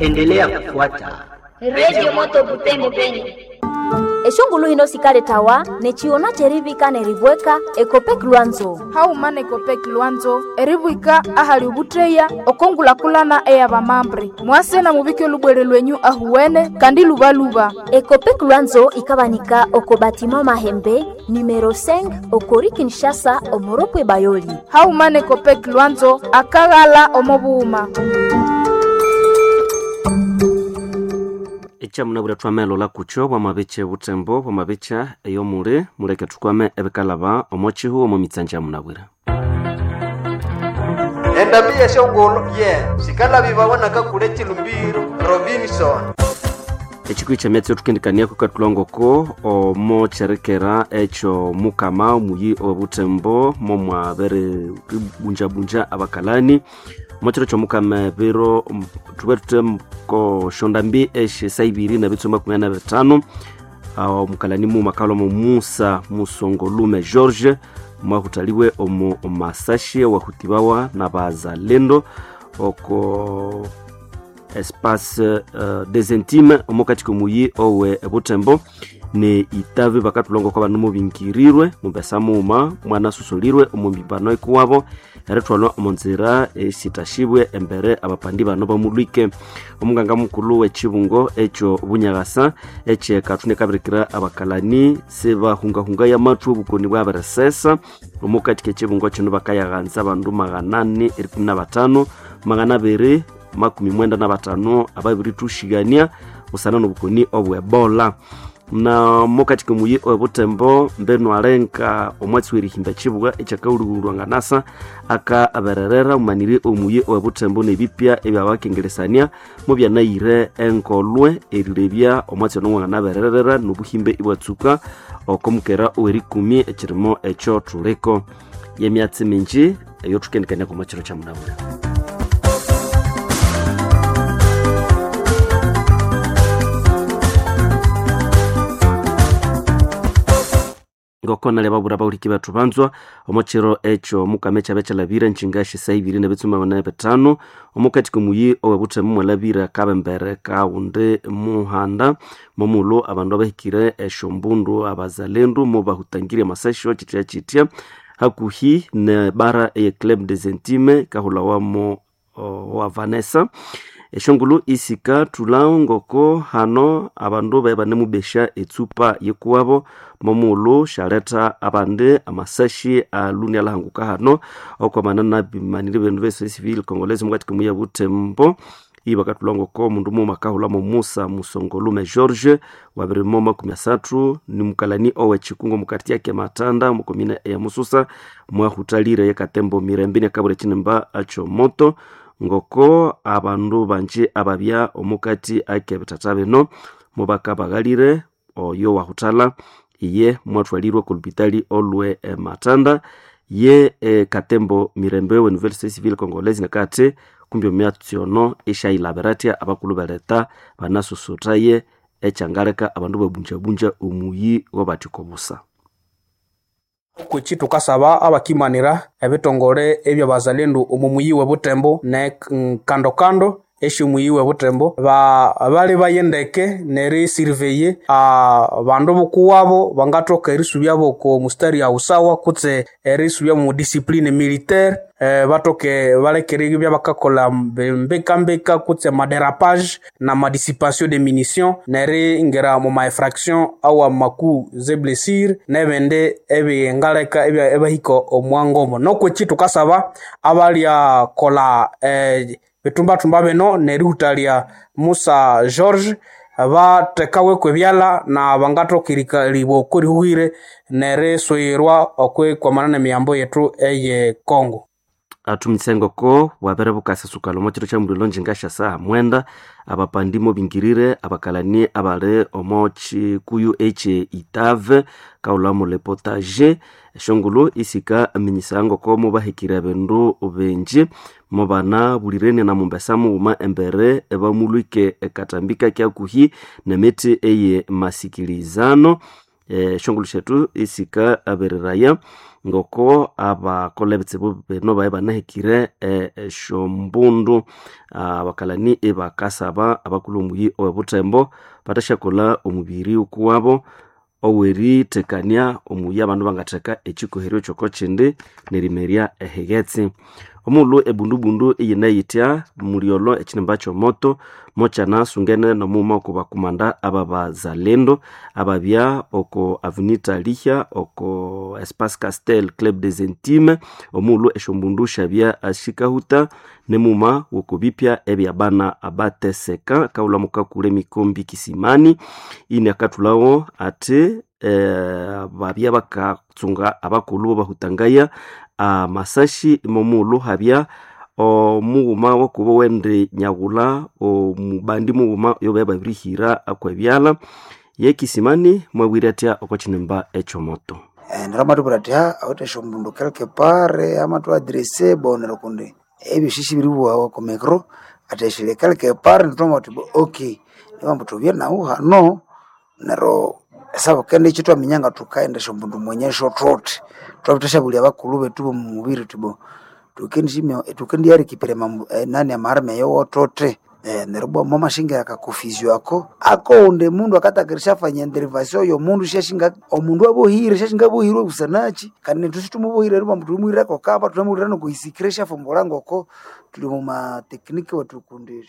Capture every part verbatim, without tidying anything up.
Endelea kufuata Radio Moto Butembo Beni. Eshongulu hino sikaletawa nechiona cherivika neribweka Ekopek Lwanzo. Hauma nekopek Lwanzo eribwika ahali ubutreya okongulakulana eyabamambre mwase na mubike lubwere lwenyu ahuwene kandi lubaluba. Ekopek Lwanzo ikabanika oko batima Mahembe numero cinq okori Kinshasa omoropwe Bayoli. Hauma nekopek Lwanzo akaghala omobuuma. Echamunabwira twamelo kucho bwamabiche butembo bwamabicha eyomuli muleke tukwame ebikalaba omochihu omo mitsanja munabwira. Endabi yeshongolo ye sikalabi babonaka kule chilumbiro Robinson. Echikwi chamyatsi tukendikania kukatulongoko omo cherekera echo mukama muyi obutembo momwabere bunjabunja abakalani mochero chomukama biro tube tutemko shonda mbi eshe saibiri na bitso makumi ana bitano omukalani mu makalo mu Musa Musongolume George mwahutaliwe omu masashi wahutibawa na bazalendo oko espace uh, des intimes omukati komuyi owe butembo ne itave bakatulongo kwa banu mubingirirwe mubesa muma mwana susulirwe omumbibano ikuwabo eritwalwa omunzira esitashibwe embere abapandi bano bamulwike. Omunganga mukulu w'echibungo echo bunyagasa eche katune kabirikira abakalani sebahungahunga ya mathu obukoni bwaberesesa omukati k'echibungo kino bakayaghanza abandu maganani erikumi na batano magana abiri makumi mwenda na batano ababiri tushigania busana n'obukoni obwebola. Na mukati komuyi obutembo mbenu alenka omwatsi werihimba chibuga echakaululwa nganasa aka abererera umaniri omuyi obutembo nebipya ebyabakengelesania mubyanayire enkolwe erilebya omwatsi ono nganabererera nobuhimbe ibwatsuka okomukera owerikumi ekirimo echo tuliko yemyatsi minji eyo tukendikania komachiro cha munabura. Ngoko nale babura bawuliki bathu banzwa omochiro echo mukame chabe chalabira nchingashi saibiri na bitsuma bana betano omukati komuyi owe buthemu mwalabira kabembere kaunde muhanda momulo abandu abahikire eshombundu abazalendu mubahutangire masasho chitya chitya hakuhi ne bara eye Club des Intimes kahulawamo wa Vanessa eshongulu isika tulao ngoko hano abandu bae banemubesha etsupa yekuwabo momulu shaleta abandi amasashi aluni alahanguka hano okwamana nabimanire bindu bese civil congolese mukati komuya butembo ibakatulwa ngoko omundu muma akahulamo Musa Musongolume George wabirimo makumi asathu ni mukalani owe chikungo mukati yake Matanda mukomine ya Mususa mwahutalire yekatembo Mirembe nekabure chinimba acho moto ngoko abandu banje ababya omukati ake bitata bino mubaka baghalire oyo wahutala iye mwathwalirwe kulupitali olwe e Matanda ye e, Katembo Mirembe we Nouvelle Société Civile Congolaise nakati kumbi omyatsi ono eshailaberatia abakulu beleta banasusutaye echangaleka abandu babunjabunja omuyi wabathikobusa. Kwiki tukasaba abakimanira ebitongole ebyabazalendo omu muyi we Butembo ne kando kando esyomuyi we Butembo ba bali bayendeke neri surveye abandu bukuwabo bangathoka erisubyabo oko mustari awusawa kutse erisubya mu discipline militaire eh, batoke balekere ibya bakakola mbekambeka kutse maderapage na madissipation de munitions neri ngera mu ma infraction awa maku ze blessure nebende ebingaleka ebahika omwangomo nokweki tukasaba abalya kola eh, bitumbatumba bino nerihutalya Musa George bathekaweko ebyalha na bangathoka erikalibwa oko rihuhire nerisuyirwa okwikwamana nemiyambo yethu eye Congo. Athumitse ngoko bwabere bukasasukala omo kiro kya mulilo njingasha saha mwenda abapandi mobingirire abakalani abali omo chikuyu eche Itave kaulamo lepotage eshongolo isika aminyisa ngoko mubahikire bindu bingi mubana bulirene na mumbesa mughuma embere ebamulwike ekatambika kyakuhi nemiti eye masikilizano eshongolo shethu isika abereraya ngoko abakola ebitsibu bino baye banahekire esyombundu. Abakalani ibakasaba abakulhu omuyi owe Butembo bathasyakolha omubiri ukuwabo oweritekania omuyi abandu bangatheka ekikoheryo kyoko kindi nerimerya ehighetse. Omughulhu ebundubundu iyineyithya mulyolho ekinimba kyomoto mokyanasungene nomughuma oko bakumanda ababazalendo ababya oko Avenue Lihya oko Espace Castel Club des Intimes. Omughulhu esyombundu syabya sikahuta nemughuma woko bipya ebyabana abateseka kaghulha mukakule emikombi kisimani inakathulhawo athi eh, babya bakatsunga abakulhu bahutangaya amasashi momughulhu habya omughuma wakuba wendi nyaghulha omubandi mughuma oyo babirihira akwebyalha yekisimani mwabwire athya oko kinimba ekyomoto. Neryo amatubwira athi ha awithe esyombundu quelque part amathu-adresse bo neryo kundi ebyosi sibiribuwawa oko micro athi esiri quelque part nithwamanya thuthi okay nibambu thubye nahu hano neryo esabukendi kyithwaminya nga thukaghenda esyombundu mwenyesyo thuthi thwabirisyabulya abakulhu bethu bomumubiri thuthi bo thukendiyarikipira nani ama-arme eyo thuthi neryo ibwa mwamashinga aka-confusion ako akowundi mundu akatakira eryafanya intervention yomundu syashinga omundu abohire syashinga abohirwe busanakyi kandi nethu sithumubohire eribugha ambu thulimuhireko kamba thunemuhira nokuhisikira esyafumbulha ngoko thuli omwa technique wethu kundi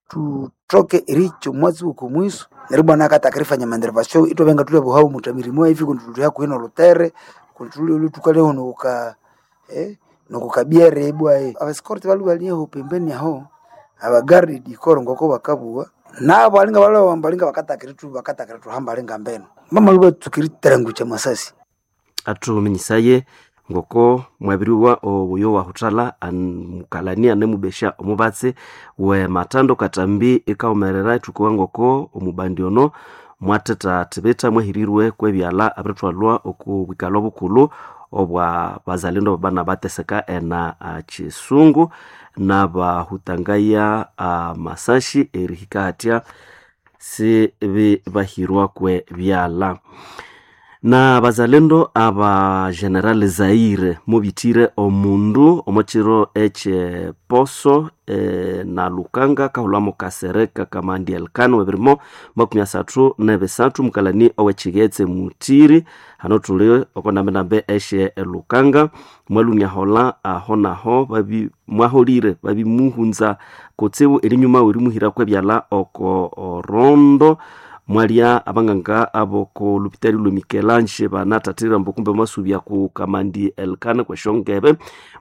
thuthoke erihikya omwatsi w'okomwiso neryo ibwa nakathaka erifanya ama-intervention ithwabya ngathulyaboha omuthamirimo efi kundi thuli hakuhi nolhutere kundi thulwe thukalyaho nokuka nokukabyere ibwa aba-escort balwe balyaho pembeni aho abaguard dikoro ngoko bakabugha nabo alinga balwe balinga bakatakira bakatakira thuhamba alinga mbeno bamalwe batsuka eriterangukya amasasi. Athuminyisaye ngoko mwabiriwa obuyo wahuthalha mukalani anemubesya omubatsi we matando katambi ikawumerera ithukuwa ngoko omubandi ono mwathetha thibitha mwahirirwe kwebyalha abirithwalwa oku bwikalho bukulhu obwa bazalendo babana bateseka ena kisungu nabahutangaya amasashi erihika hathya sibibahirwa kwe byalha. Na bazalendo aba General Zaire mubithire omundu omwakiro ekyeposo e, na Lukanga kahulhamo Kasereka Kamandi Elkano webirimo makumi asathu nebisathu mukalani owekighetse Mutiri hano thuli oko ndambe esye Lukanga mwaluniahola aho naho babi mwaholire babimuhunza kutsibu erinyuma werimuhira kwebyalha oko orondo mwalya abanganga aboko lupitali lwe Mikelange banathathira mbu kumbe mwasubya ku Kamandi Elkana kweshongebe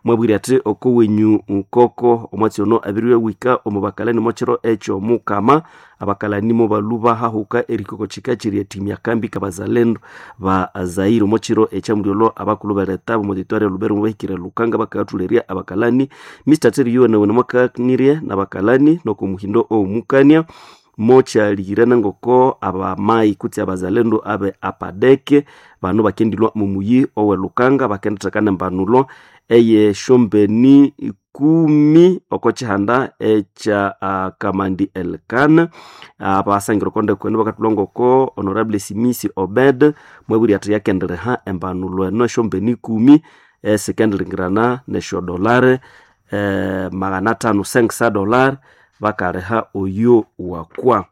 mwabwire athi oko wenyu nkoko omwatsi ono abiriwe wika omu bakalani mwakiro ekyo mukama abakalani mobaluba hahuka erikoko kika kiri etimya kambi kabazalendo ba Zaire omwakiro ekyamulyolho abakulhu bereta omu territory ya Lubero mubahikire Lukanga bakathulerya abakalani Mister Terry nawe namwakanirye nabakalani noko muhindo omukania mokyalihirana ngoko abamayi kutse abazalendo abe apadeke bano bakendilwa mumuyi owe Lukanga bakendithekana embanulo eye shombeni ikumi oko kihanda ekya uh, Kamandi Elkana abasangira okonde kwenu bakathulha ngoko Honorable Simisi Obed mwabwire athi yakendireha embanulo eno esyombeni ikumi esikendiringirana nesyodolare eh, magana athanu cinq dollar bakaleha oyo wakwa.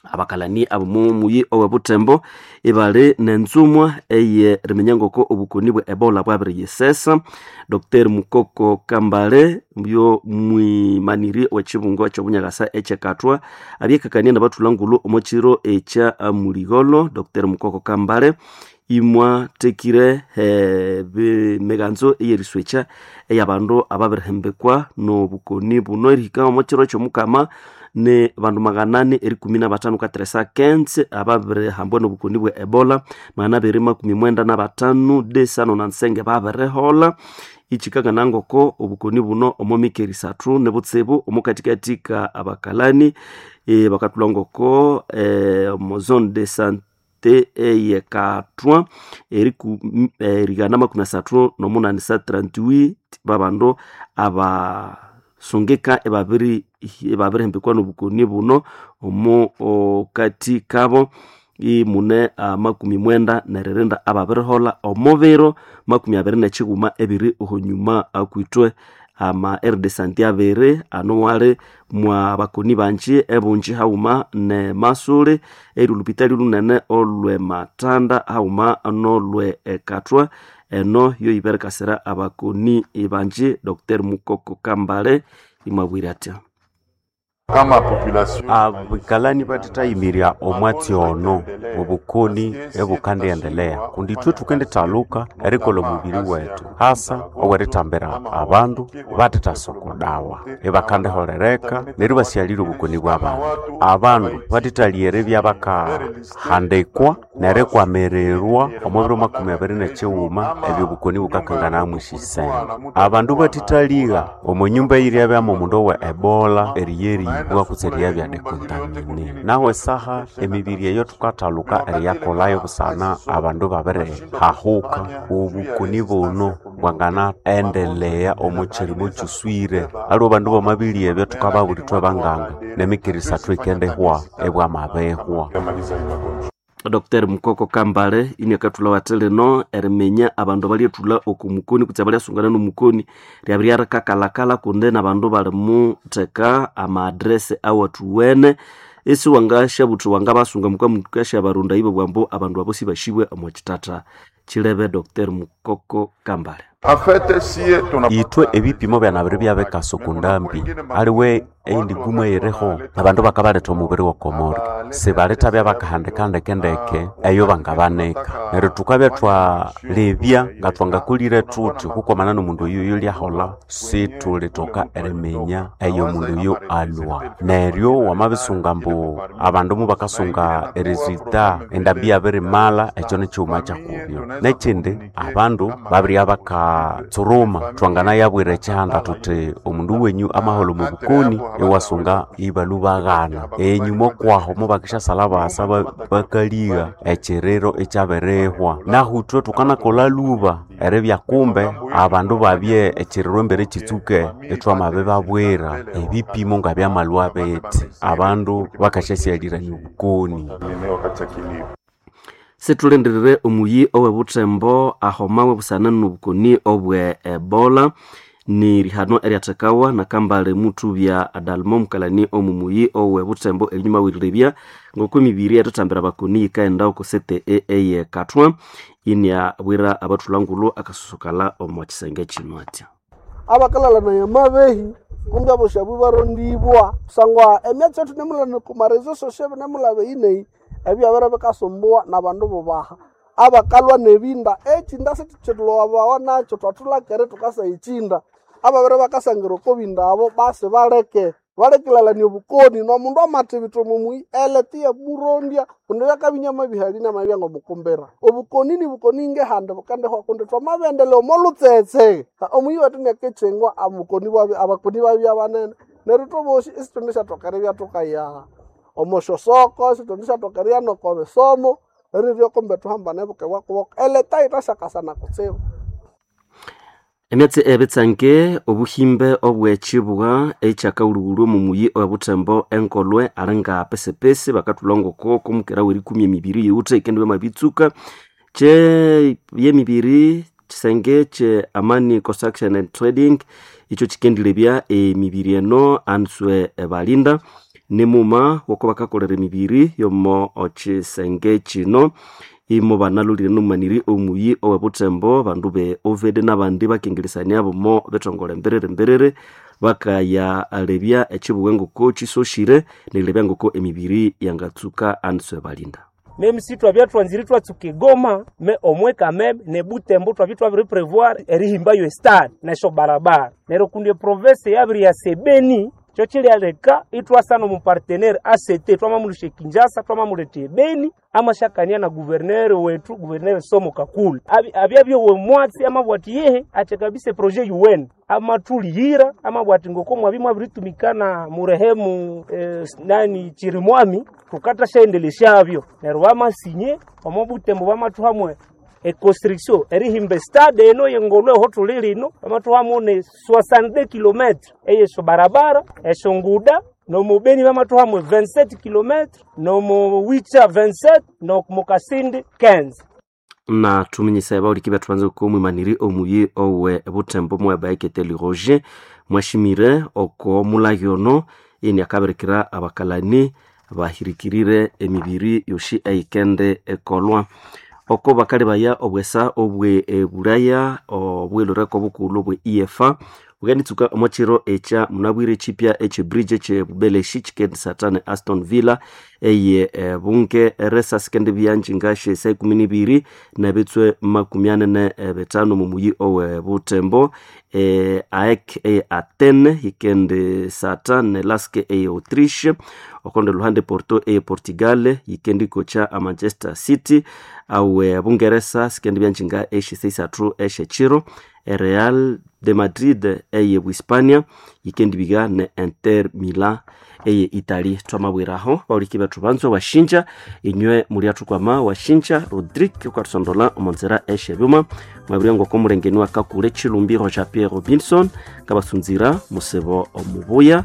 Abakalani abomumuyi owe Butembo ibali nenzumwa eye riminya ngoko obukoni bwe Ebola bwabiriyisesa. Doctor Mukoko Kambale yo mwimaniri wekibungo ekyobunyakasa ekyekathwa abyekakania nabathulha ngulhu omwakiro ekya muligholo. Doctor Mukoko Kambale imwathekire emiganzo eyeriswekya eyabandu ababirihembekwa nobukoni buno erihika omwakiro ekyomukama ni bandu maganani erikumi nabathanu kateresa kense ababirihambwa nobukoni bwe Ebola magana abiri makumi mwenda nabathanu desano nansenge babiriholha ichikangana ngoko obukoni buno omo mikeri isathu nibutsibu omukatikati ka abakalani e, bakathulha ngoko e, omo zone de sante eyekathwa erigana makumi asathu nomunani sa trente-huit babandu abasungika ebabiri ebabirihembekwa nobukoni buno omo kati kabo imune amakumi mwenda neririnda ababirihola omubiro makumi abiri nekiguma ebiri ohonyuma akwitwe ama aire de santé abiri ano wali mwa bakoni banji ebunji hauma ne masuli eri olupitali lunene olwe matanda hauma nolwe ekatwa eno yo iberekasira abakoni banji Docteur Mukoko Kambale imwabwire atya. Abikalani bathethayimirya omwatsi ono obukoni ebukandiendelea kundi ithwe thukendithaluka erikolha omubiri wethu hasa owerithambira abandu bathethasokodawa ibakandiholereka neryo ibasyalirya obukoni bw'abandu. Abandu bathethalya eribya bakahandikwa nerikwamirirwa omo biro makumi abiri nekighuma ebyo obukoni bukakanganamu esisenge. Abandu bathethaligha omo nyumba eyiryabyamu omundu owe Ebola eriyeribwa kutse eriyabya dekontamine. Nahu esaha emibiri eyo thukathaluka eriyakolhayo busana abandu babirihahuka obukoni buno bwanganaendelea omo kyirimo kyuswire. Aliwe abandu bamabilia ebyo thukababulha ithwe banganga nemikiri isathu eyikendihwa ebwamabihwa. Docteur Mukoko Kambale iniakathulha wathi lino eriminya abandu abalyethulha oku mukoni kutse abalyasungana nomukoni lyabiryarikakalakala kundi nabandu balimutheka ama-address awathuwene isi wangasyabuthi wangabasunga mukamukasyabarunda ibo bwambu abandu abo sibashibwe omo kithatha kilebe. Docteur Mukoko Kambale. Ithwe ebipimo byanabiri byabikasa oku ndambi aliwe eyindi gumu eyiriho abandu bakabaletha omubiri w'okomori sibalethabya bakahandika ndekendeke eyo bangabanika neryo thukabya thwalebya nga thwangakolire thuthi kukwamana n'omundu oyu oyulyaholha sithulithoka eriminya eyo omundu oyu alwa neryo wamabisunga ambu abandu mubakasunga eresulta endambi yabirimala ekyo nikighuma kyakubyo. Nekindi abandu babirya bakatsuruma thwanganayabwira ekihanda thuthi omundu wenyu amaholha omu bukoni iwasunga ibalhubaghana enyuma okwaho mubakisyasalha basa bakaligha ekiriro ekyabirihwa. Nahu ithwe thukanakolha lhuba eribya kumbe abandu babye ekiriro embere kitsuke ithwamabibabwira ebipimo ngabyamalhwa bithi abandu bakasyasyalirania obukoni. Sithulindirire omuyi owe Butembo ahomawe busana nobukoni obwe Ebola ni rihano eryathekawa nakambale muthubya Adalmo mukalani omumuyi owe Butembo erinyuma werirebya ngoko emibiri erithambira abakoni yikaghenda oko C T E eye Kathwa iniabwira abathulangulhu akasusukala omo kisenge kino atya. Abakalalana amabehi kumbi aboshabu ibarondibwa kusangwa emyatsi yethu nemulana kumarezo sosio nemulaba eyineyi ebyabere bikasumbuwa nabandu bubaha abakalwa nebinda ekinda sikyitulwabawa nakyo thwathulakere thukasa ekinda ababere bakasangira oko binda abo basi baleke balekilalania obukoni nomundu amathibitha omumuyi elete iyamurondya kundi byakabinya amabihali namabya ngomukumbira obukoni nibukoni ngehandi bukendihwa kundi thwamabiendelea omo lutsetse omuyi wethu niakekyengwa abukoni bwabya abakoni babya banene neryo ithwebosi isithundisyathoka eribya thukaya omo syosoko isithundisyathoka eribya noko bisomo erirya kumbe thuhambane bukebwakuboka eleta yithasyakasana kutsibu. Emyatsi ebitsange obuhimbe obwekibwa ekyakaghulhughulhu omu muyi owe Butembo enkolwe alinga pesipesi bakathulha ngoko komukera werikumi emibiri yiwuthe ikendibya mabitsuka kye yemibiri kisenge kye Amani Construction and Trading ikyo kikendilebya emibiri eno answe balinda nimuma woko bakakolera emibiri yomo kisenge kino imo banalolire nomumaniri omuyi owe Butembo bandu be Ovede nabandi bakengeresania bomo bethongole mbiriri mbiriri bakayalebya ekibuga ngoko kisoshire nerilebya ngoko emibiri yangatsuka answe balinda. Meme si twabya twanzire twatsuka egoma me omwe kameme ne Butembo twabya twabiri prevoir erihimbayo estade nesyo barabara neryo kundi eprovince yabiri ya sebeni kyo kilyaleka itwasana omu partenaire A C T twamamulusha Kinshasa twamamuletha ebeni amashakania na gouverneur wetu gouverneur Somo Kakule abyabyowe mwatsi amabwati yehe ache kabisa projet U N amatuliyira amabwati ngoko mwabi mwabiritumikana murehemu eh, nani Chirimwami tukatashaendeleshavyo neryo bamasinye omo Butembo bamathuhamwe econstruction erihimba stade eno yengolwe ho tuli lino bamathuhamo ne soixante-deux kilomètres eyesho barabara esho nguda. Nomu Beni bamatuhamo vingt-sept kilometre, nomu Wicha vingt-sept, nomu Kasindi quinze. Na tuminyisa bauliki bethu banze ko mwimaniri omuyi owe Butembo mwebaekete Roger mwashimire oko mulagyono ini akabirikira abakalani bahirikirire emibiri yoshi eyikende ekolwa oko bakali baya obwesa obwe ebulaya obwelureko obukulhu obwe E F A bukenitsuka omwakiro ekya munabwire chipya eche bridge eche bubeleshi chikendisatane Aston Villa eye e, bunge eresa sikende byanjinga she saa ikumi nibiri nebitswe makumi ane ne bitano mumuyi owe Butembo e, A E K eye Athene yikende satane Lask eye Autriche okonde luhande Porto eye Portugal yikendi kocha a Manchester City awe Bungeresa sikende byanjinga eshe seisathu eshe chiro Real de Madrid eye Hispania yikendi biga ne Inter Milan eye Italy. Twamabwiraho bauliki bethu banzo washinja inywe muli athukwama washinja Rodrigue ukathusondola omonzera eshe byuma mwabwira ngoko omulengeni wakakule Chilumbiro ja Pierre Robinson kabasunzira musebo omubuya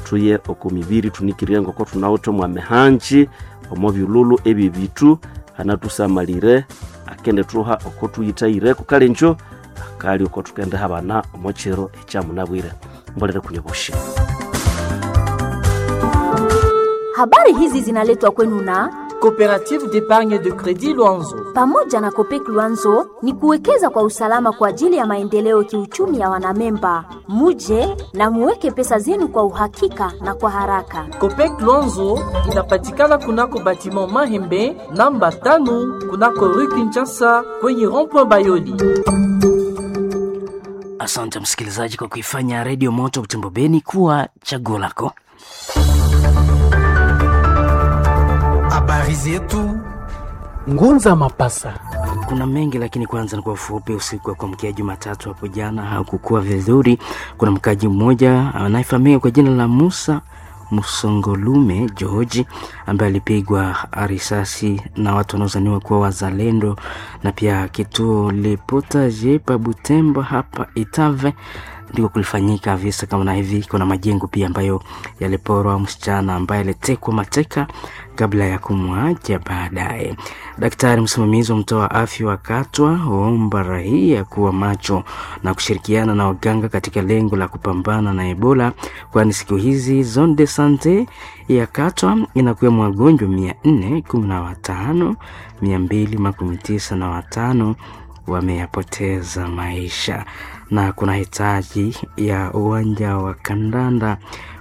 tuye oko mibiri tunikirire ngoko thunawithe mwamehanji omo byululu ebyo bitu anathusamalire akende thuha oko thuyithayireko kale njo akali oko thukende habana omo kiro ekyamunabwire mbolere kunywa bushi. Habari hizi zinaletwa kwenu na Coopérative d'épargne de crédit Luanzo. Pamoja na Copec Luanzo ni kuwekeza kwa usalama kwa ajili ya maendeleo kiuchumi ya wanamemba. Muje na muweke pesa zenu kwa uhakika na kwa haraka. Copec Luanzo inapatikana kunako batiment Mahembe namba tano kunako Rue Kinshasa kwenye rond-point Bayoli. Asante msikilizaji kwa kuifanya Radio Moto Butembo Beni kuwa chaguo lako. Habari zetu Ngunza Mapasa. Kuna mengi lakini kwanza ni kwa ufupi. Usiku wa kuamkia Jumatatu hapo jana hakukuwa vizuri. Kuna mkaji mmoja anayefahamika kwa jina la Musa Musongolume George ambaye alipigwa risasi na watu wanaozaniwa kuwa wazalendo, na pia kituo Le Potager pa Butembo hapa Itave ndiko kulifanyika visa kama na hivi. Kuna majengo pia ambayo yaliporwa, msichana ambaye alitekwa mateka kabla ya kumwacha baadaye. Daktari msimamizi wa mtoa afya wa Katwa waomba raia kuwa macho na kushirikiana na waganga katika lengo la kupambana na Ebola, kwani siku hizi zone de sante ya Katwa inakuwa wagonjwa mia nne kumi na watano mia mbili makumi tisa na watano wameyapoteza maisha, na kuna hitaji ya uwanja wa kandanda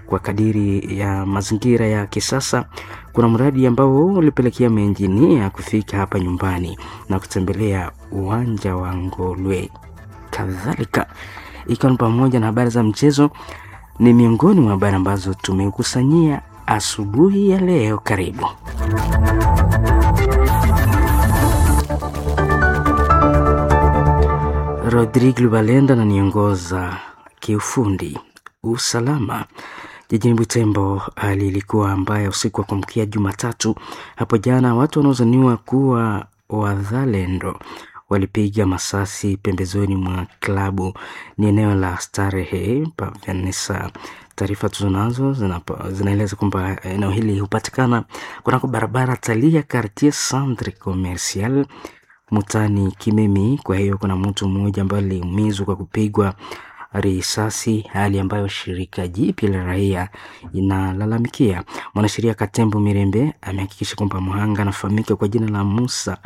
kwa kadiri ya mazingira ya kisasa. Kuna mradi ambao ulipelekea maenjinia kufika hapa nyumbani na kutembelea uwanja wa Ngolwe. Kadhalika ikiwa ni pamoja na habari za mchezo, ni miongoni mwa habari ambazo tumekusanyia asubuhi ya leo. Karibu. Rodrigue Lubalenda ananiongoza kiufundi. Usalama jijini Butembo, hali ilikuwa mbaya usiku wa kuamkia Jumatatu hapo jana. Watu wanaozaniwa kuwa wazalendo walipiga masasi pembezoni mwa klabu, ni eneo la starehe pa Vanessa. Taarifa tulizonazo zinaeleza kwamba eneo hili hupatikana kunako barabara Talia, Quartier Centre Commercial, mutani Kimemi. Kwa hiyo kuna mtu mmoja ambaye aliumizwa kwa kupigwa risasi, hali ambayo shirika jipya la raia inalalamikia. Mwanasheria Katembo Mirembe amehakikisha kwamba mhanga anafahamika kwa jina la Musa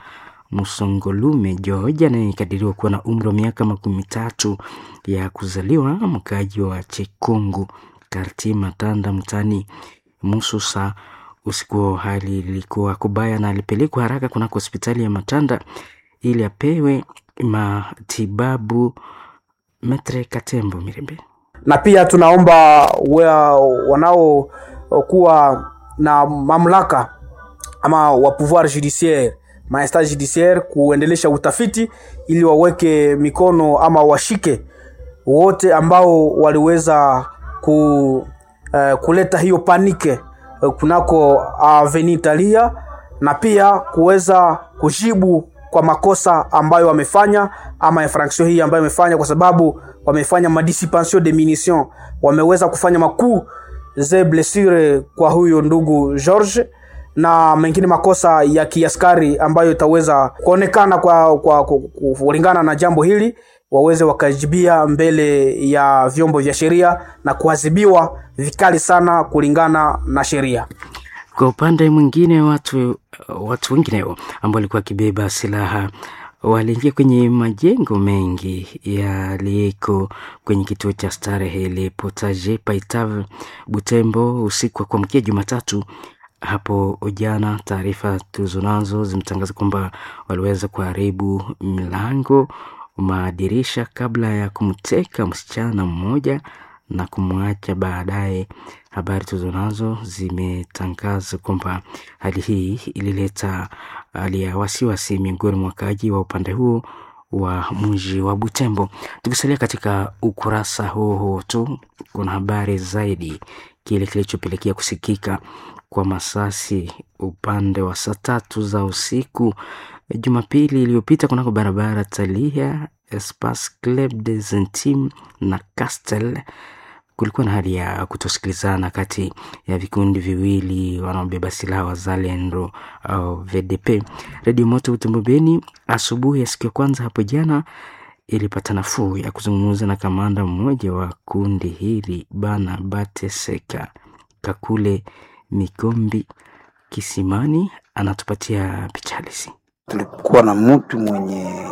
Musongolume George anayekadiriwa kuwa na umri wa miaka makumi tatu ya kuzaliwa, mkaaji wa Chekungu Karti Matanda mtani Mususa. Usiku hali ilikuwa kubaya na alipelekwa haraka kunako hospitali ya Matanda ili apewe matibabu. Metre Katembo Mirembe. Na pia tunaomba wanaokuwa na mamlaka ama wa pouvoir judiciaire maesta judiciaire kuendelesha utafiti ili waweke mikono ama washike wote ambao waliweza ku, uh, kuleta hiyo panike kunako Avenue Italia na pia kuweza kujibu kwa makosa ambayo wamefanya ama infraction hii ambayo wamefanya, kwa sababu wamefanya madissipation de munitions, wameweza kufanya makuu ze blessure kwa huyo ndugu George na mengine makosa ya kiaskari ambayo itaweza kuonekana kwa, kwa, kwa kulingana na jambo hili waweze wakajibia mbele ya vyombo vya sheria na kuadhibiwa vikali sana kulingana na sheria. Kwa upande mwingine, watu watu wengineo ambao walikuwa wakibeba silaha waliingia kwenye majengo mengi yaliyeko kwenye kituo cha starehe Le Potager Paitave Butembo usiku wa kuamkia Jumatatu hapo jana. Taarifa tulizonazo zimetangaza kwamba waliweza kuharibu milango, madirisha kabla ya kumteka msichana mmoja na kumwacha baadaye. Habari tulizonazo zimetangaza kwamba hali hii ilileta hali ya wasiwasi miongoni mwa wakaaji wa upande huo wa mji wa Butembo. Tukisalia katika ukurasa huo huo tu, kuna habari zaidi kile kilichopelekea kusikika kwa masasi upande wa saa tatu za usiku Jumapili iliyopita kunako barabara Talia Espace Club des Intimes na Castel. Kulikuwa na hali ya kutosikilizana kati ya vikundi viwili wanaobeba silaha wazalendo au V D P. Redio Moto Butembo Beni asubuhi ya siku ya kwanza hapo jana ilipata nafuu ya kuzungumza na kamanda mmoja wa kundi hili Bana Bateseka Kakule Mikombi Kisimani, anatupatia picha halisi. Tulikuwa na mtu mwenye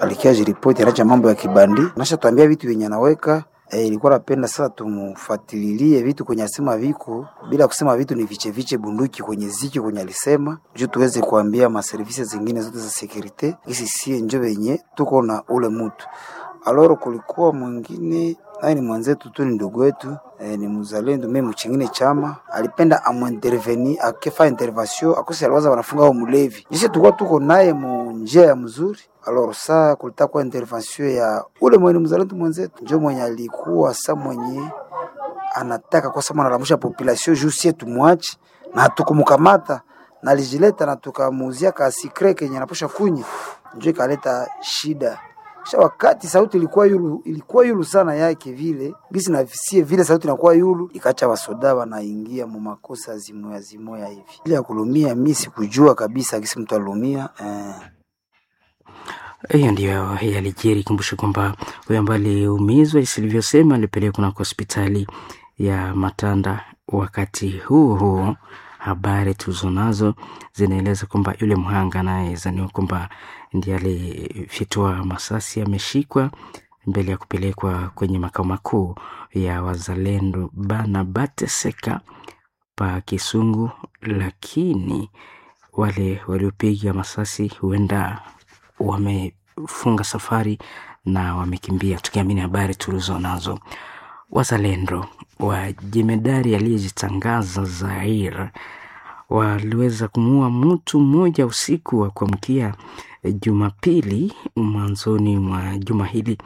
alikia jiripoti anacha mambo ya kibandi, nasha tuambia vitu vyenye anaweka. E, ilikuwa napenda sasa tumufatililie vitu kwenye asema viko bila kusema vitu ni viche viche bunduki kwenye ziki kwenye alisema juu tuweze kuambia maservisi zingine zote za securite isi sie njo venye tuko na ule mtu. Aloro kulikuwa mwingine naye ni mwenzetu tu, ni ndugu wetu e, ni mzalendo mimi mchingine chama alipenda amuinterveni akifa intervention akose aliwaza wanafunga au mulevi jisi tulikuwa tuko naye mu njia ya mzuri. Alors sa kulita kwa intervention ya ule mwenye mzalendo mwenzetu njo mwenye alikuwa sa mwenye anataka kwa sababu analamusha population juu sie tumwache na tukumkamata na alijileta na tukamuuzia ka secret kenye anaposha kunya njo ikaleta shida. Kisha wakati sauti ilikuwa yulu, ilikuwa yulu sana yake vile gisi na sie vile sauti inakuwa yulu, ikacha wasoda wanaingia mu makosa zimoya zimoya hivi. Ile ya kulumia mimi sikujua kabisa gisi mtu alumia eh. Hiyo ndiyo yalijiri. Kumbusha kwamba huyo ambaye aliumizwa isilivyosema alipelekwa kunako hospitali ya Matanda. Wakati huo huo, habari tulizonazo zinaeleza kwamba yule mhanga anayezaniwa kwamba ndiye alifyatua masasi ameshikwa mbele ya kupelekwa kwenye makao makuu ya wazalendo Bana Bateseka pa Kisungu, lakini wale waliopiga masasi huenda wamefunga safari na wamekimbia, tukiamini habari tulizo nazo. Wazalendo wa jemedari aliyejitangaza Zair waliweza kumuua mtu mmoja usiku wa kuamkia Jumapili mwanzoni mwa juma hili.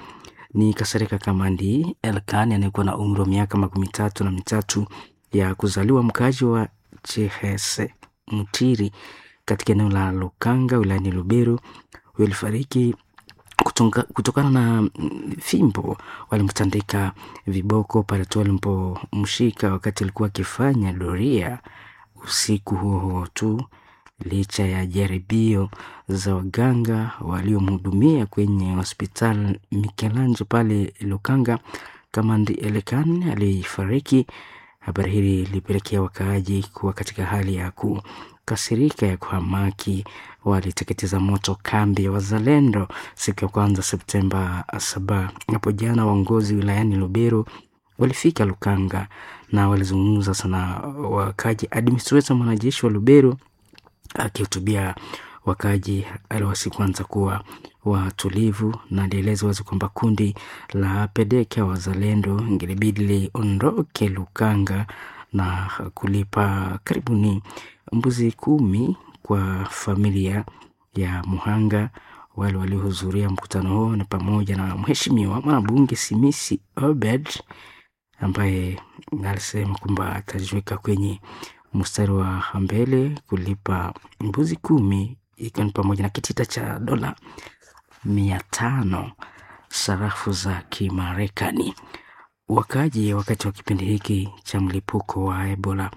Ni Kasereka Kamandi Elkani anayekuwa na umri wa miaka makumi tatu na mitatu ya kuzaliwa, mkaaji wa Chihese Mutiri katika eneo la Lukanga wilayani Lubero. Huyo alifariki kutunga, kutokana na fimbo walimtandika viboko pale tu walimpomshika wakati alikuwa akifanya doria usiku huo huo tu. Licha ya jaribio za waganga waliomhudumia kwenye hospitali Mikelanjo pale Lukanga, Kamandi Elekan alifariki. Habari hili lilipelekea wakaaji kuwa katika hali ya kukasirika ya kuhamaki. Waliteketeza moto kambi ya wazalendo siku ya kwanza Septemba saba hapo jana. Waongozi wilayani Lubero walifika Lukanga na walizungumza sana wakaaji. Administrator mwanajeshi wa Lubero akihutubia wakaaji aliwasi kwanza kuwa watulivu na alieleza wazi kwamba kundi la Pedeka wazalendo ingelibidi liondoke Lukanga na kulipa karibuni mbuzi kumi kwa familia ya muhanga. Wale waliohudhuria mkutano huo ni pamoja na mheshimiwa mwanabunge Simisi Obed ambaye alisema kwamba atajiweka kwenye mstari wa mbele kulipa mbuzi kumi ikiwa ni pamoja na kitita cha dola mia tano sarafu za Kimarekani. Wakaji wakati wa kipindi hiki cha mlipuko wa Ebola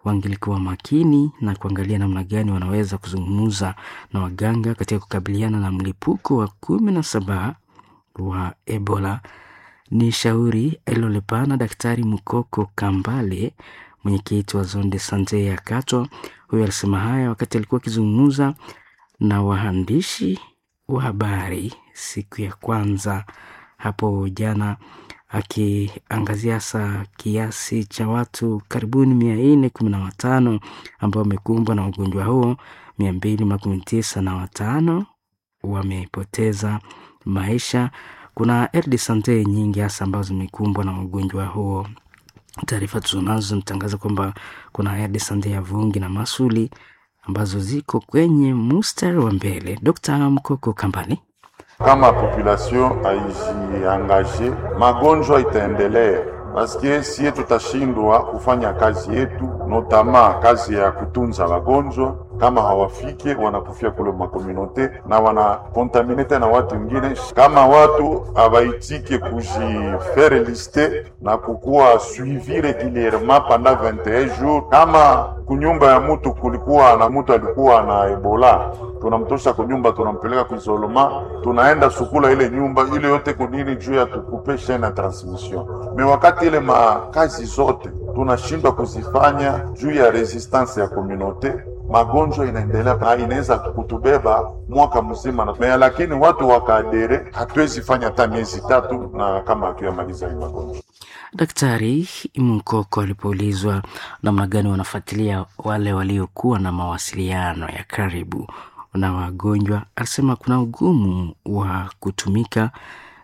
wangelikuwa makini na kuangalia namna gani wanaweza kuzungumza na waganga katika kukabiliana na mlipuko wa kumi na saba wa Ebola. Ni shauri alilolipana Daktari Mukoko Kambale, mwenyekiti wa Zone de Sante ya Katwa. Huyo alisema haya wakati alikuwa akizungumza na waandishi wa habari siku ya kwanza hapo jana, akiangazia hasa kiasi cha watu karibuni mia nne kumi na watano ambao wamekumbwa na ugonjwa huo, mia mbili makumi tisa na watano wamepoteza maisha. Kuna aire de sante nyingi hasa ambazo zimekumbwa na ugonjwa huo. Taarifa tulizonazo zinatangaza kwamba kuna aire de sante ya Vungi na Masuli ambazo ziko kwenye mstari wa mbele. Dr. Mkoko Kambani. Kama population haijiangaje, magonjwa itaendelea paske sie tutashindwa kufanya kazi yetu, notama kazi ya kutunza wagonjwa. Kama hawafike wanakufia kule makomunote na wanakontamine tena watu wengine. Kama watu habaitike kujifere liste na kukuwa suivi regulierement pendant vingt et un jours, kama kunyumba ya mutu kulikuwa na mutu alikuwa na Ebola, tunamtosha kunyumba, tunampeleka kuisolema, tunaenda sukula ile nyumba ile yote kunini juu ya tukupe chaine ya transmission. Me wakati ile makazi zote tunashindwa kuzifanya juu ya resistance ya communauté, magonjwa inaendelea na inaweza kutubeba mwaka mzima na me, lakini watu wakaadere, hatuwezi fanya hata miezi tatu na kama hatuyamaliza hii magonjwa. Daktari Mkoko alipoulizwa namna gani wanafuatilia wale waliokuwa na mawasiliano ya karibu na wagonjwa, alisema kuna ugumu wa kutumika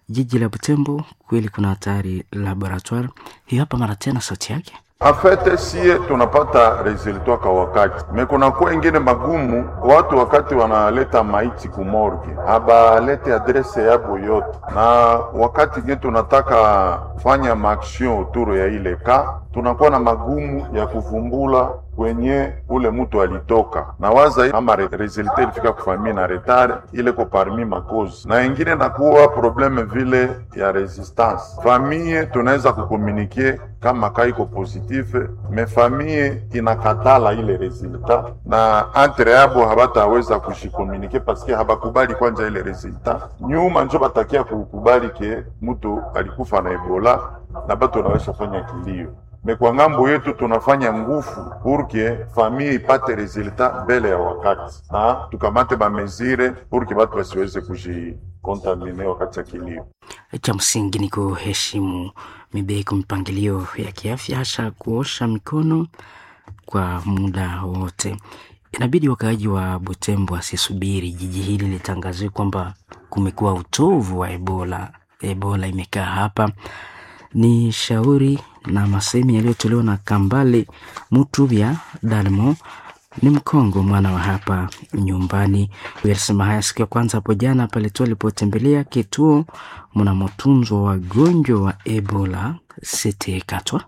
jiji la Butembo, kweli kuna hatari laboratoire. Hiyo hapa mara tena sauti yake. En fait sie tunapata resultat kwa wakati, me kunakuwa ingine magumu. Watu wakati wanaleta maiti kumorge abalete adrese yabo yote, na wakati nye tunataka fanya maaction autour ya ile ka, tunakuwa na magumu ya kuvumbula kwenye ule mtu alitoka na waza ama resultat ilifika kufamii na retard ile ko parmi makozi na ingine nakuwa probleme vile ya resistance famille, tunaweza kukomunike kama kaiko positive me famille inakatala ile resultat na entre yabo habataweza kushikomunike paske habakubali kwanja ile resultat nyuma, njo batakia kukubali ke mtu alikufa na Ebola na batu naweza fanya kilio. Me kwa ngambo yetu tunafanya ngufu purke famille ipate resultat mbele ya wakati na tukamate bamezire purke batu basiweze kujikontamine wakati ya kilio. Cha msingi ni kuheshimu mibeko, mipangilio ya kiafya, hasa kuosha mikono kwa muda wote. Inabidi wakaaji wa Butembo wasisubiri jiji hili litangazwe kwamba kumekuwa utovu wa Ebola. Ebola imekaa hapa. Ni shauri na masemi yaliyotolewa na Kambale Mutubya Dalmo, ni Mkongo mwana wa hapa nyumbani. Alisema haya siku ya kwanza hapo jana pale tu alipotembelea kituo mnamotunzwa wagonjwa wa Ebola Sete Katwa.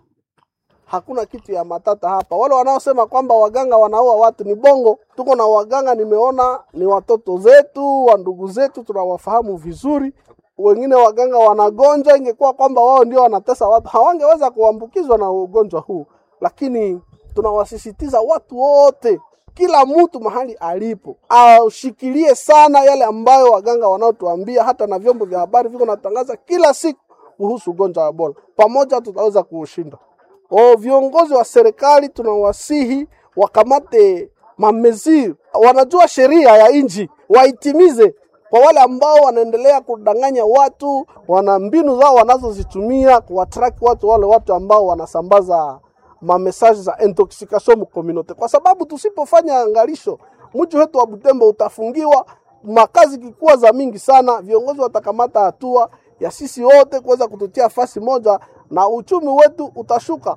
Hakuna kitu ya matata hapa. Wale wanaosema kwamba waganga wanaua watu ni bongo. Tuko na waganga, nimeona ni watoto zetu wa ndugu zetu, tunawafahamu vizuri. Wengine waganga wanagonjwa, ingekuwa kwamba wao ndio wanatesa watu hawangeweza kuambukizwa na ugonjwa huu, lakini tunawasisitiza watu wote, kila mtu mahali alipo ashikilie sana yale ambayo waganga wanaotuambia, hata na vyombo vya habari viko natangaza kila siku kuhusu ugonjwa wa Ebola. Pamoja tutaweza kuushinda. O, viongozi wa serikali tunawasihi wakamate mameziri, wanajua sheria ya nchi waitimize. Kwa wale ambao wanaendelea kudanganya watu, wana mbinu zao wanazozitumia kuwatrack watu, wale watu ambao wanasambaza mamesaje za intoxication mu community, kwa sababu tusipofanya angalisho, mji wetu wa Butembo utafungiwa, makazi kikuwa za mingi sana. Viongozi watakamata hatua ya sisi wote kuweza kututia fasi moja, na uchumi wetu utashuka,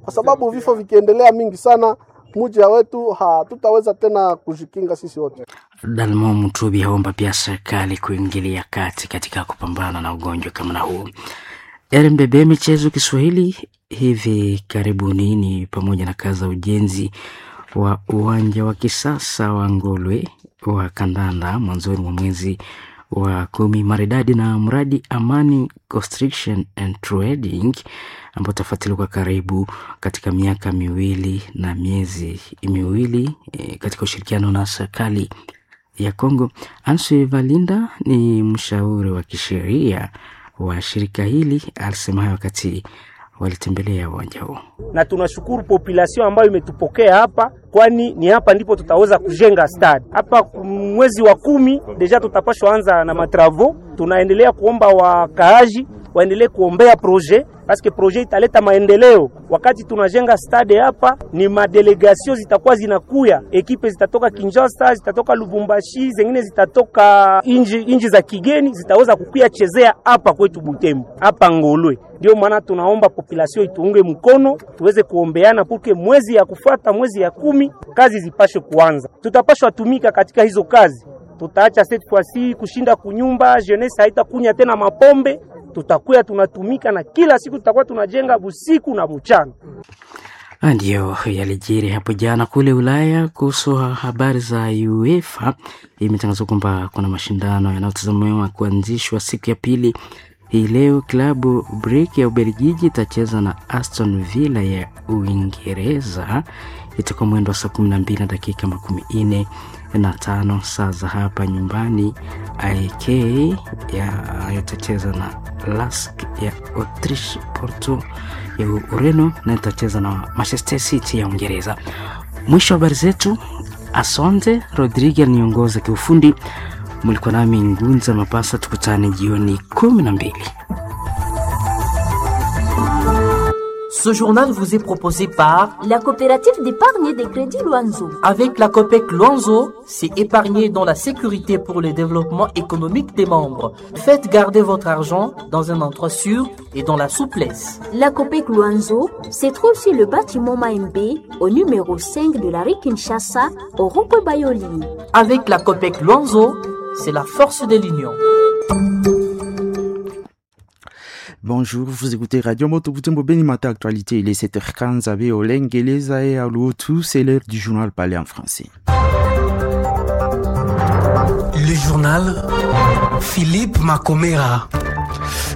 kwa sababu vifo vikiendelea mingi sana mji wetu hatutaweza tena kujikinga sisi wote. Dalmo Mutubi aomba pia serikali kuingilia kati katika kupambana na ugonjwa kama na huu. R M B B Michezo Kiswahili hivi karibuni ni pamoja na kazi za ujenzi wa uwanja wa kisasa wa Ngolwe wa kandanda mwanzoni mwa mwezi wa kumi maridadi na mradi Amani Construction and Trading ambao utafuatiliwa kwa karibu katika miaka miwili na miezi miwili e, katika ushirikiano na serikali ya Kongo. Anse Valinda ni mshauri wa kisheria wa shirika hili, alisema hayo wakati walitembelea uwanja huo. Na tunashukuru population ambayo imetupokea hapa, kwani ni hapa ndipo tutaweza kujenga stade hapa. Mwezi wa kumi deja tutapashwa anza na matravo. Tunaendelea kuomba wakaaji waendelee kuombea projet paske projet italeta maendeleo. Wakati tunajenga stade hapa, ni madelegasio zitakuwa zinakuya, ekipe zitatoka Kinshasa, zitatoka Lubumbashi, zengine zitatoka inji, inji za kigeni zitaweza kukuya chezea hapa kwetu Butembo, hapa Ngolwe. Ndio maana tunaomba population ituunge mkono, tuweze kuombeana puke mwezi ya kufuata, mwezi ya kumi kazi zipashe kuanza. Tutapashwa tumika katika hizo kazi, tutaacha cette fois-ci kushinda kunyumba, jeunesse haitakunya tena mapombe tutakuya tunatumika na kila siku tutakuwa tunajenga busiku na buchana. Ndiyo yalijiri hapo jana kule Ulaya kuhusu habari za UEFA. Imetangazwa kwamba kuna mashindano yanayotazamiwa kuanzishwa siku ya pili hii leo. Klabu Brugge ya Ubelgiji itacheza na Aston Villa ya Uingereza. Itakuwa mwendo wa saa kumi na mbili na dakika makumi nne na tano saa za hapa nyumbani. A K ya itacheza na Lask ya Autriche, Porto ya Ureno na itacheza na Manchester City ya Uingereza. Mwisho wa habari zetu. Asante Rodrigue aliongoza kiufundi, mlikuwa nami Ngunza Mapasa. Tukutane jioni kumi na mbili. Ce journal vous est proposé par la coopérative d'épargne des crédits Luanzo. Avec la COPEC Luanzo, c'est épargner dans la sécurité pour le développement économique des membres. Faites garder votre argent dans un endroit sûr et dans la souplesse. La COPEC Luanzo se trouve sur le bâtiment Maembe, au numéro cinq de la rue Kinshasa, au rond-point Bayoli. Avec la COPEC Luanzo, c'est la force de l'union. Bonjour, vous écoutez Radio Moto Butembo Beni Matin Actualité. Il est sept heures quinze à Olengeleza et à Loutou. C'est l'heure du journal parlé en français. Le journal Philippe Macomera.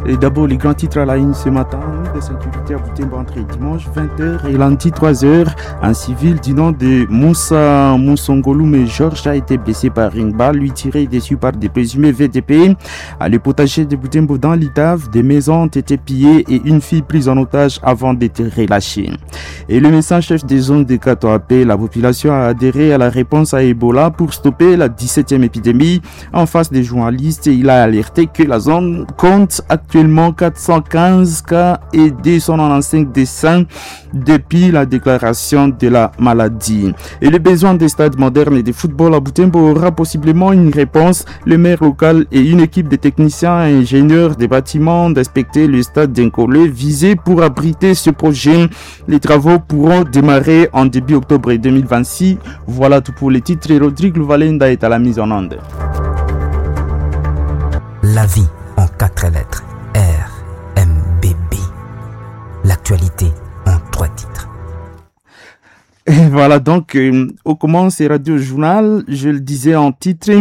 Et d'abord, les grands titres à la une ce matin de sécurité à Butembo entre dimanche vingt heures et lundi trois heures. Un civil du nom de Moussa Moussongoloum Georges a été blessé par une balle lui tirée dessus par des présumés V D P. À le potager de Butembo dans l'I T A V, des maisons ont été pillées et une fille prise en otage avant d'être relâchée. Et le médecin-chef des zones de Kato appelle la population à adhérer à la réponse à Ebola pour stopper la dix-septième épidémie. En face des journalistes, il a alerté que la zone compte actuellement quatre cent quinze cas et deux cent quatre-vingt-quinze décès depuis la déclaration de la maladie. Et le besoin des stades modernes et de football à Butembo aura possiblement une réponse. Le maire local et une équipe de techniciens et ingénieurs des bâtiments d'inspecter le stade d'Incolé visé pour abriter ce projet. Les travaux pourront démarrer en début octobre deux mille vingt-six. Voilà tout pour les titres. Rodrigue Louvalenda est à la mise en onde. La vie en quatre lettres. R M B B. L'actualité en trois titres. Et voilà donc, euh, au commence Radio Journal, je le disais en titre,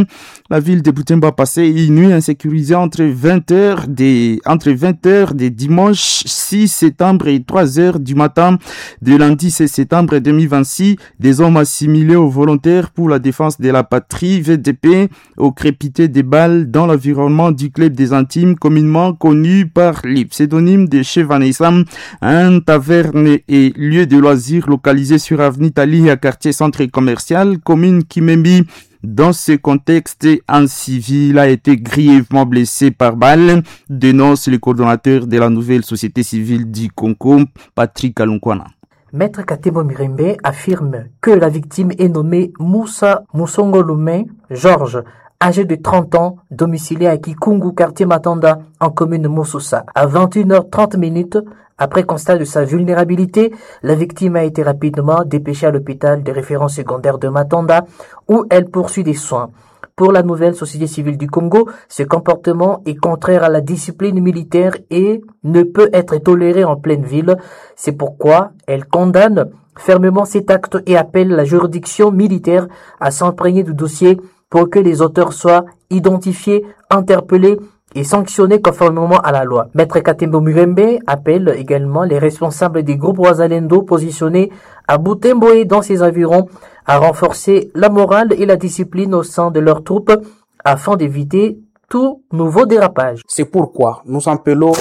la ville de Butembo a passé une nuit insécurisée entre vingt heures des, entre vingt heures des dimanche six septembre et trois heures du matin de lundi seize septembre deux mille vingt-six. Des hommes assimilés aux volontaires pour la défense de la patrie V D P au crépité des balles dans l'environnement du club des intimes communément connu par les pseudonymes de Chez Vanessa, un taverne et lieu de loisirs localisé sur avenue Italie à quartier centre commercial, commune Kimembi. Dans ce contexte, un civil a été grièvement blessé par balle, dénonce le coordonnateur de la nouvelle société civile du Congo, Patrick Alunkwana. Maître Katebo Mirembe affirme que la victime est nommée Moussa Moussongolume Georges, âgé de trente ans, domicilié à Kikungu, quartier Matanda, en commune Moussosa. À vingt et une heures trente minutes, après constat de sa vulnérabilité, la victime a été rapidement dépêchée à l'hôpital de référence secondaire de Matanda, où elle poursuit des soins. Pour la nouvelle société civile du Congo, ce comportement est contraire à la discipline militaire et ne peut être toléré en pleine ville. C'est pourquoi elle condamne fermement cet acte et appelle la juridiction militaire à s'imprégner du dossier pour que les auteurs soient identifiés, interpellés et sanctionnés conformément à la loi. Maître Katembo Murembe appelle également les responsables des groupes Wazalendo positionnés à Butembo et dans ses environs à renforcer la morale et la discipline au sein de leurs troupes afin d'éviter tout nouveau dérapage. C'est pourquoi nous appelons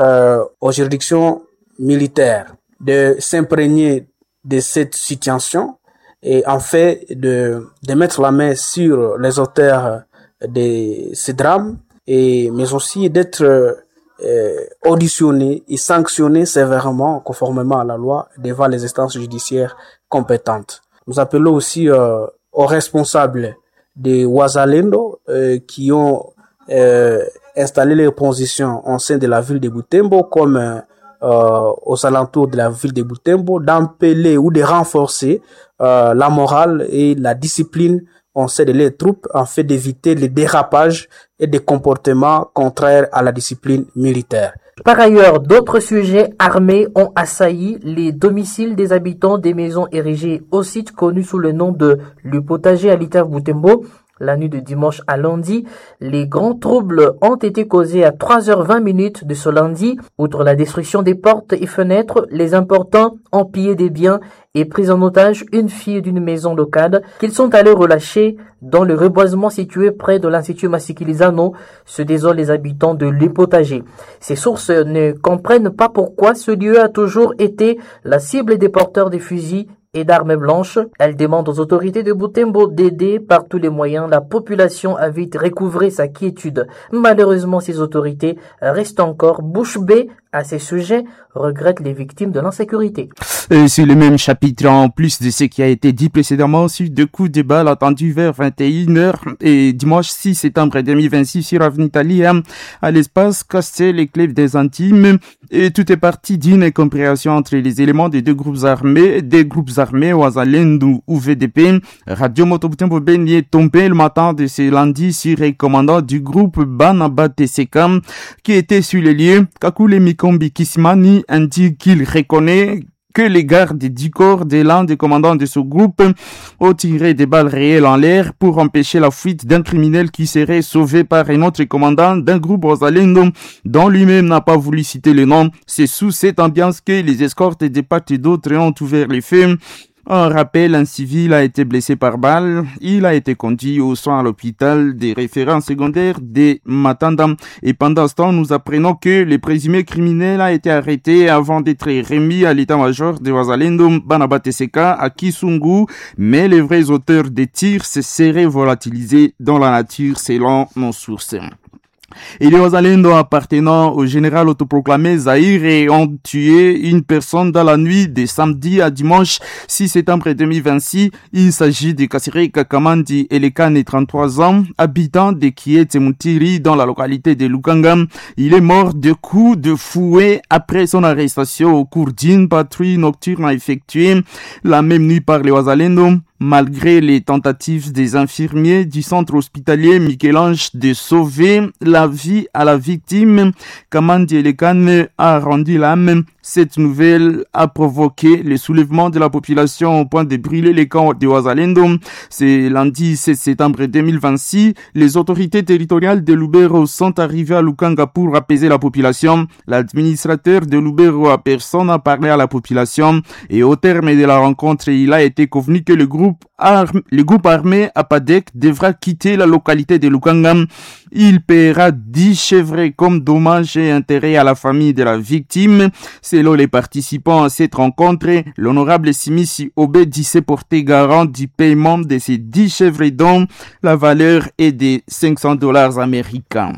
euh, aux juridictions militaires de s'imprégner de cette situation et en fait de, de mettre la main sur les auteurs de ces drames, et, mais aussi d'être euh, auditionnés et sanctionnés sévèrement conformément à la loi devant les instances judiciaires compétentes. Nous appelons aussi euh, aux responsables des Wazalendo euh, qui ont euh, installé leurs positions au sein de la ville de Butembo comme euh, aux alentours de la ville de Butembo, d'empeler ou de renforcer euh, la morale et la discipline au sein de leurs troupes en fait d'éviter les dérapages et des comportements contraires à la discipline militaire. Par ailleurs, d'autres sujets armés ont assailli les domiciles des habitants des maisons érigées au site connu sous le nom de Le Potager à l'Itav Butembo. La nuit de dimanche à lundi, les grands troubles ont été causés à trois heures vingt minutes de ce lundi. Outre la destruction des portes et fenêtres, les importants ont pillé des biens et pris en otage une fille d'une maison locale qu'ils sont allés relâcher dans le reboisement situé près de l'Institut Masikilizano, se désolent les habitants de Le Potager. Ces sources ne comprennent pas pourquoi ce lieu a toujours été la cible des porteurs des fusils et d'armes blanches. Elle demande aux autorités de Butembo d'aider par tous les moyens la population à vite recouvrer sa quiétude. Malheureusement, ces autorités restent encore bouche bée à ces sujets, regrettent les victimes de l'insécurité. Et sur le même chapitre, en plus de ce qui a été dit précédemment, sur deux coups de balle attendus vers vingt et une heures et dimanche six septembre deux mille vingt-six sur Avenue Italie, à l'espace Castel et Clèves des Antimes. Et tout est parti d'une incompréhension entre les éléments des deux groupes armés, des groupes armés Wazalendo ou V D P. Radio Moto Butembo Beni est tombé le matin de ce lundi sur les commandant du groupe Banaba T C K qui était sur les lieux. Kakule Mikombi Kisimani indique qu'il reconnaît que les gardes du corps de l'un des commandants de ce groupe ont tiré des balles réelles en l'air pour empêcher la fuite d'un criminel qui serait sauvé par un autre commandant d'un groupe Wazalendo dont lui-même n'a pas voulu citer le nom. C'est sous cette ambiance que les escortes des part et d'autre ont ouvert les feux. En rappel, un civil a été blessé par balle. Il a été conduit aux soins à l'hôpital des références secondaires des Matanda. Et pendant ce temps, nous apprenons que le présumé criminel a été arrêté avant d'être remis à l'état-major de Wazalendo Banaba T C K à Kisungu. Mais les vrais auteurs des tirs se seraient volatilisés dans la nature selon nos sources. Et les Wazalendo appartenant au général autoproclamé Zaïre ont tué une personne dans la nuit de samedi à dimanche six septembre deux mille vingt-six. Il s'agit de Kassiré Kakamandi Elekane, trente-trois ans, habitant de Kiete Mutiri dans la localité de Lukanga. Il est mort de coups de fouet après son arrestation au cours d'une patrouille nocturne effectuée la même nuit par les Wazalendo. Malgré les tentatives des infirmiers du centre hospitalier Michel-Ange de sauver la vie à la victime, Kamandi Elekane a rendu l'âme. Cette nouvelle a provoqué le soulèvement de la population au point de brûler les camps de Wazalendo. C'est lundi sept septembre deux mille vingt-six. Les autorités territoriales de Lubero sont arrivées à Lukanga pour apaiser la population. L'administrateur de Lubero a personne a parlé à la population et au terme de la rencontre, il a été convenu que le groupe Arm, le groupe armé Apadec devra quitter la localité de Lukanga. Il paiera dix chèvres comme dommages et intérêts à la famille de la victime. Selon les participants à cette rencontre, l'honorable Simisi Obedi s'est porté garant du paiement de ces dix chèvres dont la valeur est de cinq cents dollars américains.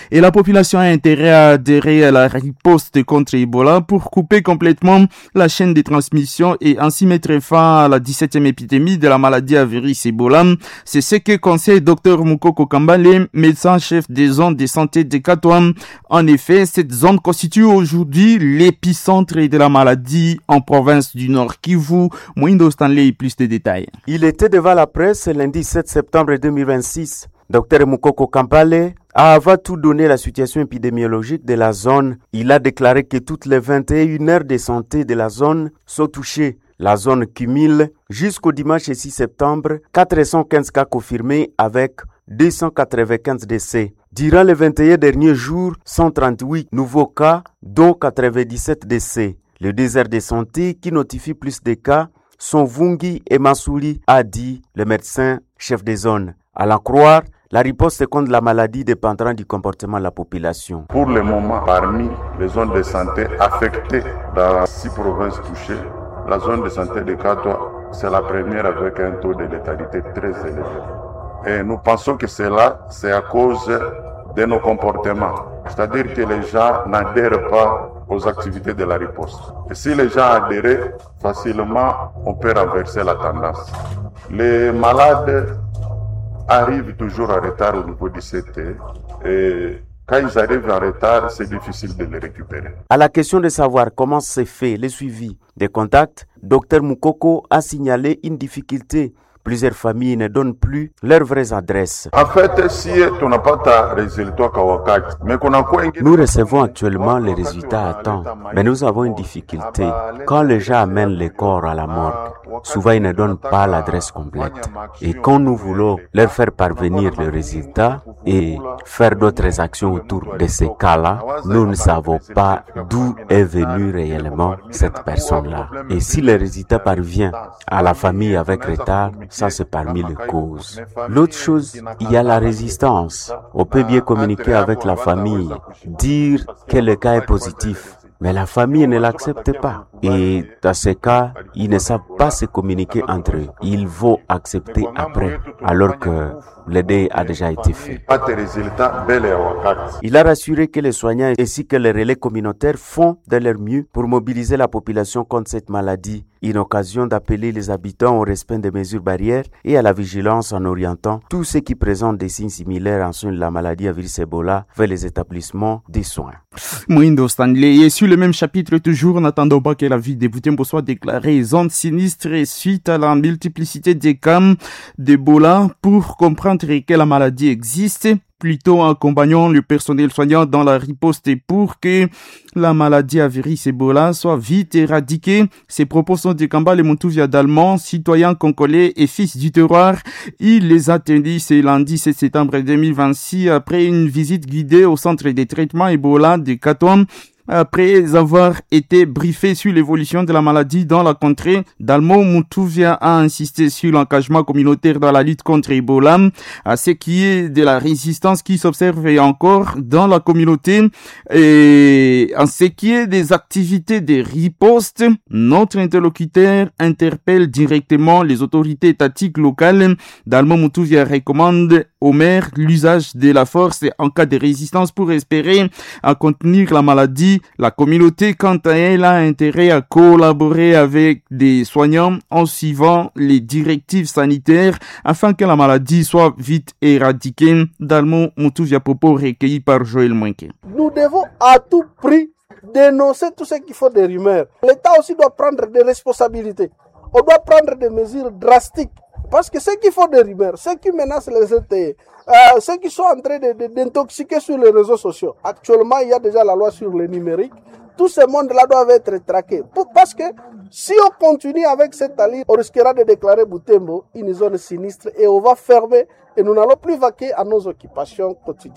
Et la population a intérêt à adhérer à la riposte contre Ebola pour couper complètement la chaîne de transmission et ainsi mettre fin à la dix-septième épidémie de la maladie à virus Ebola. C'est ce que conseille docteur Mukoko Kambale, médecin-chef des zones de santé de Katwa. En effet, cette zone constitue aujourd'hui l'épicentre de la maladie en province du Nord Kivu. Mwindo Stanley, plus de détails. Il était devant la presse lundi sept septembre deux mille vingt-six. Docteur Mukoko Kambale a avant tout donné la situation épidémiologique de la zone. Il a déclaré que toutes les vingt et une aires de santé de la zone sont touchées. La zone cumule jusqu'au dimanche six septembre quatre cent quinze cas confirmés avec deux cent quatre-vingt-quinze décès. Durant les vingt et un derniers jours, cent trente-huit nouveaux cas, dont quatre-vingt-dix-sept décès. Le désert de santé qui notifie plus de cas sont Vungi et Mansouli, a dit le médecin chef des zones. À l'en croire, la riposte contre la maladie dépendra du comportement de la population. Pour le moment, parmi les zones de santé affectées dans six provinces touchées, la zone de santé de Katwa, c'est la première avec un taux de létalité très élevé. Et nous pensons que cela, c'est à cause de nos comportements. C'est-à-dire que les gens n'adhèrent pas aux activités de la riposte. Et si les gens adhéraient, facilement, on peut renverser la tendance. Les malades arrivent toujours en retard au niveau du C T et quand ils arrivent en retard, c'est difficile de les récupérer. À la question de savoir comment s'est fait le suivi des contacts, Docteur Mukoko a signalé une difficulté. Plusieurs familles ne donnent plus leurs vraies adresses. En fait, si tunapata résultat kwa wakati, mais kunakuwa ingine- Nous recevons actuellement les résultats à temps, mais nous avons une difficulté. Quand les gens amènent les corps à la morgue, souvent ils ne donnent pas l'adresse complète. Et quand nous voulons leur faire parvenir le résultat et faire d'autres actions autour de ces cas-là, nous ne savons pas d'où est venue réellement cette personne-là. Et si le résultat parvient à la famille avec retard, ça c'est parmi les causes. L'autre chose, il y a la résistance. On peut bien communiquer avec la famille, dire que le cas est positif, mais la famille ne l'accepte pas. Et dans ces cas, ils ne savent pas se communiquer entre eux. Il faut accepter après, alors que le deuil a déjà été fait. Pas de résultats, bel et wakati. Il a rassuré que les soignants ainsi que les relais communautaires font de leur mieux pour mobiliser la population contre cette maladie. Une occasion d'appeler les habitants au respect des mesures barrières et à la vigilance en orientant tous ceux qui présentent des signes similaires en soins de la maladie à virus Ebola vers les établissements des soins. Mwindo Stanley. Et sur le même chapitre, toujours, n'attendons pas que la ville de Butembo soit déclarée zone sinistre suite à la multiplicité des cas d'Ebola pour comprendre que la maladie existe. Plutôt accompagnons le personnel soignant dans la riposte pour que la maladie à virus Ebola soit vite éradiquée. Ces propos sont de Kambale Muntuvia Dalmont, citoyen congolais et fils du terroir. Il les a tenus ce lundi sept septembre deux mille vingt-six après une visite guidée au centre de traitement Ebola de Katwa. Après avoir été briefé sur l'évolution de la maladie dans la contrée, Dalmo Muntuvia a insisté sur l'engagement communautaire dans la lutte contre Ebola, à ce qui est de la résistance qui s'observe encore dans la communauté et en ce qui est des activités de riposte, notre interlocuteur interpelle directement les autorités étatiques locales. Dalmo Muntuvia recommande au maire l'usage de la force en cas de résistance pour espérer à contenir la maladie. La communauté, quant à elle, a intérêt à collaborer avec des soignants en suivant les directives sanitaires afin que la maladie soit vite éradiquée. Dalmo Muntuvia, propos recueilli par Joël Mwenke. Nous devons à tout prix dénoncer tout ce qu'il faut des rumeurs. L'État aussi doit prendre des responsabilités. On doit prendre des mesures drastiques. Parce que ceux qui font des rumeurs, ceux qui menacent les L T E, euh, ceux qui sont en train de, de, d'intoxiquer sur les réseaux sociaux. Actuellement, il y a déjà la loi sur le numérique. Tout ce monde-là doit être traqué. Pour, parce que si on continue avec cette allure, on risquera de déclarer Butembo une zone sinistre et on va fermer et nous n'allons plus vaquer à nos occupations quotidiennes.